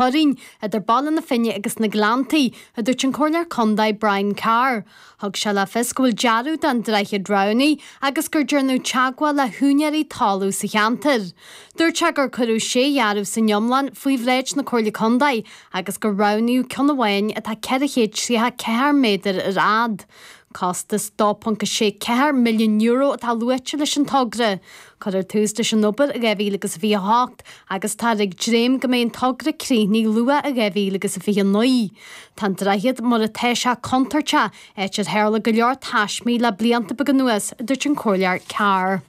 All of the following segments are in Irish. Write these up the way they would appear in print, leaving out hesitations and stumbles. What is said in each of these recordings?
Teorainn idir Baile na Finne agus na Gleanntaí, a dúirt an Comhairleoir Condae Brian Carr. Thug sé le fios go bhfuil dearadh don droichead roghnaithe agus gur déanadh teagmháil le húinéirí talún sa cheantar. Dúirt sé gur cuireadh sé dhearadh san iomlán faoi bhráid na Comhairle Condae agus gur roghnaíodh ceann amháin atá 434 méadar ar fhad. Costas €2.64 milliún atá luaite leis an togra. Cuirfear tús leis an obair i 2028 agus táthar ag dréim go mbeidh an togra críochnaithe luath i 2029. Tá an droichead mar atá sé contúirteach, áit ar tharla go leor taismí le blianta beaga anuas, a dúirt an Comhairleoir Carr.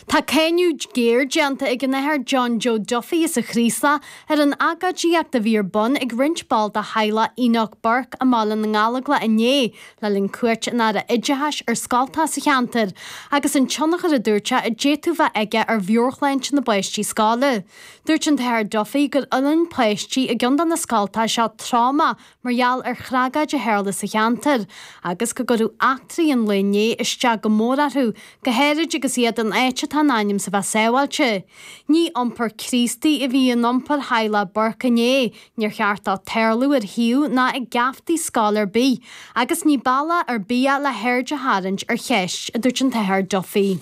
Tá cáineadh géar déanta ag an Athair John Joe Duffy as an Chraoslach ar an agóidíocht a bhí ar bun ag roinnt ball de theaghlach Enoch Burke i mBaile na nGallóglach inné le linn cuairt an Aire Oideachais ar scoltacha sa cheantar agus an tionchar a dúirt sé a d'fhéadfadh bheith aige ar mheabhairshláinte na bpáistí scoile. Dúirt an tAthair Duffy gur fhulaing páistí i gceann de na scoltacha seo tráma mar gheall ar thragóid a tharla sa cheantar agus go gcuireadh eachtraí an lae inné isteach go mór orthu, go háirid agus iad in áit atá in ainm is a bheith sábháilte. Ní iompar Críostaí a bhí in iompar theaghlach Burke inné, níor cheart dó tarlú ar shuíomh ná i geaftaí scoil ar bith, agus ní bealach ar bith é le haird a tharraingt ar cheist, a dúirt an tAthair Duffy.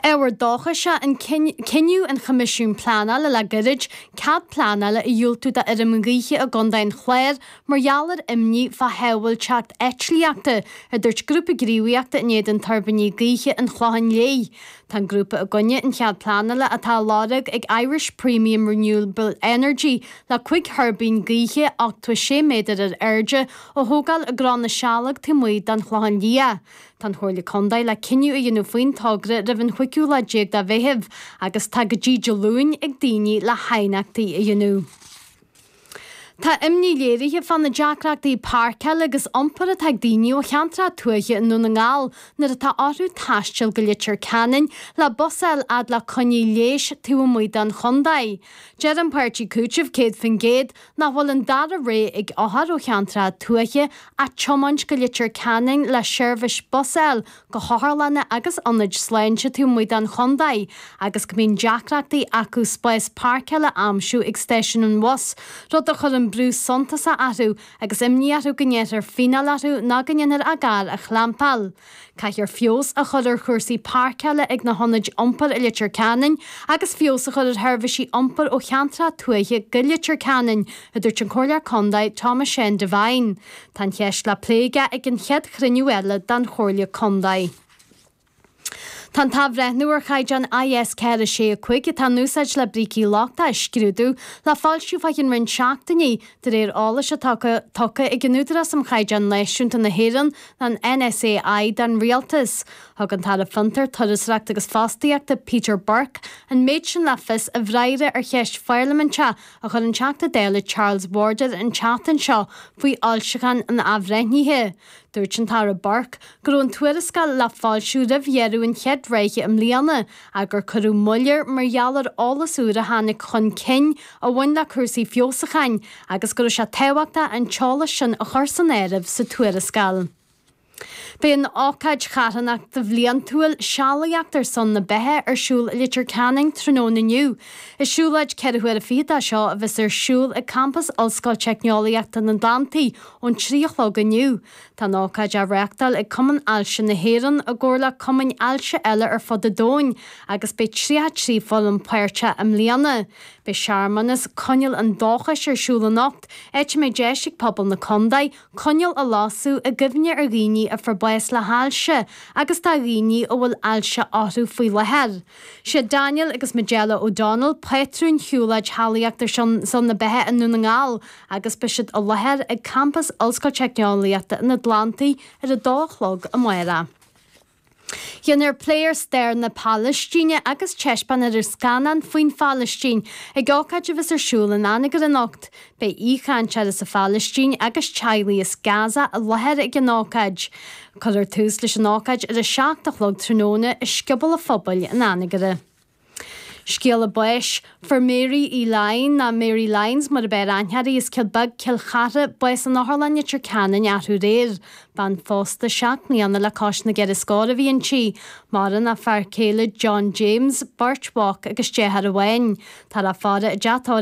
Ábhar dóchais é an cinneadh an Choimisiúin Pleanála le gairid cead pleanála a dhiúltú do fheirm ghaoithe i gContae an Chláir mar gheall ar imní fá shábháilteacht eitlíochta, a dúirt grúpa gníomhaíochta in éadan tuirbíní gaoithe an Chlocháin Léith. Tá an grúpa i gcoinne an chead pleanála atá á lorg ag Irish Premium Renewable Energy le 5 thuirbín gaoithe 86 méadar ar airde a thógáil i gCró na Sealg taobh amuigh den Chlochán Liath. Tá an Chomhairle Contae le cinneadh a dhéanamh faoin togra roimh an chúigiú lá déag de Mheitheamh agus tá go dtí Dé Luain ag daoine le haighneachtaí a dhéanamh. Tá imní léirithe fá na deacrachtaí páirceála agus iompair atá ag daoine ó cheantracha tuaithe i nDún na nGall nuair atá orthu taisteal go Leitir Ceanainn le bus a fháil fhad le coinní leighis taobh amuigh den chontae. Deir an páirtí Cúiteamh 100% nach bhfuil an dara rogha ag othair ó cheantracha tuaithe ach tiomáint go Leitir Ceanainn le seirbhís bus a fháil go hotharlanna agus ionaid sláinte taobh amuigh den chontae agus go mbíonn deacrachtaí acu spás páirceála a aimsiú ag stáisiún an bhus, rud a chuireann brú suntasach orthu agus imní orthu go ndéanfar fíneáil orthu nó go ndéanfar a gcarr a chlampáil. Caithfear feabhas a chur ar chúrsaí páirceála ag na hionaid iompair i Leitir Ceanainn agus feabhas a chur ar sheirbhísí iompair ó cheantracha tuaithe go Leitir Ceanainn, a dúirt an Comhairleoir Contae Thomas Seán Devine. Tá an cheist le plé aige ag an chéad chruinniú eile den Chomhairle Contae. Tá an t-athbhreithniú ar chaighdeán IS 465 atá in úsáid le brící lochtacha a scrúdú le foilsiú fá cheann roinnt seachtainí, De réir eolais atá tugtha ag an Údarás um Chaighdeáin Náisiúnta na hÉireann, an NSAI, don Rialtas, thug an tAire Fiontar, Turasóireachta agus Fostaíochta, Peter Burke, an méid sin le fios i bhfreagra ar cheist pharlaiminteach a chuir an Teachta Dála Charles Warden an tseachtain seo faoi fhoilseachán an athbhreithnithe. Dúirt an tAire Burke go raibh an tuarascáil le foilsiú roimh dheireadh an chéad ráithe i mbliana ach gur cuireadh moill air mar gheall ar eolas úr a tháinig chun cinn a bhain le cúrsaí feabhsúcháin agus go raibh sé tábhachtach an t-eolas sin a chur san áireamh sa tuarascáil. Beidh an ócáid charthanachta bhliantúil Sealaíocht ar son na Beatha ar siúl i Leitir Ceanainn tráthnóna inniu. Is siúlóid 4 huaire fichead é seo a bheas ar siúl ag campas Ollscoil Teicneolaíochta an Atlantaigh ón 3 a chlog inniu. Tá an ócáid á reáchtáil ag Cumann Ailse na hÉireann i gcomhar le cumainn ailse eile ar fud an domhain agus beidh 33 foireann páirteach i mbliana. Beidh searmanas Coinneal an Dóchais ar siúl anocht, áit a mbeidh deis ag pobal na contae coinneal a lasadh i gcuimhne ar dhaoine a fuair bás le hailse agus do dhaoine a bhfuil ailse orthu faoi láthair. Siad Daniel agus Majella O'Donnell pátrúin shiúlóid Shealaíocht ar son na Beatha i nDún na nGall agus beidh siad i láthair ag campas Ollscoil Teicneolaíochta an Atlantaigh ar a dó a chlog amárach. Déanfar plé ar stair na Palaistíne agus taispeánfar scannán faoin Phalaistín ag ócáid a bheas ar siúl in Anagaire anocht. Beidh aoichainteoir as an Phalaistín agus teaghlaigh as Gaza i láthair ag an ócáid. Cuirfear tús leis an ócáid ar a 7 a chlog tráthnóna i Scioból an Phobail in Anagaire. Scéala báis. Fuair Mary Uí Laighin, nó Mary Lyons mar ab fhearr aithne uirthi, as Cill Beag, Cill Chartha, bás in Otharlann Leitir Ceanainn arú aréir. Bean phósta 7 mbliana le cois na gceithre scór a bhí inti. Maireann a fear céile John James, beirt mhac agus deartháir amháin. Táthar á faire i dteach tórraimh.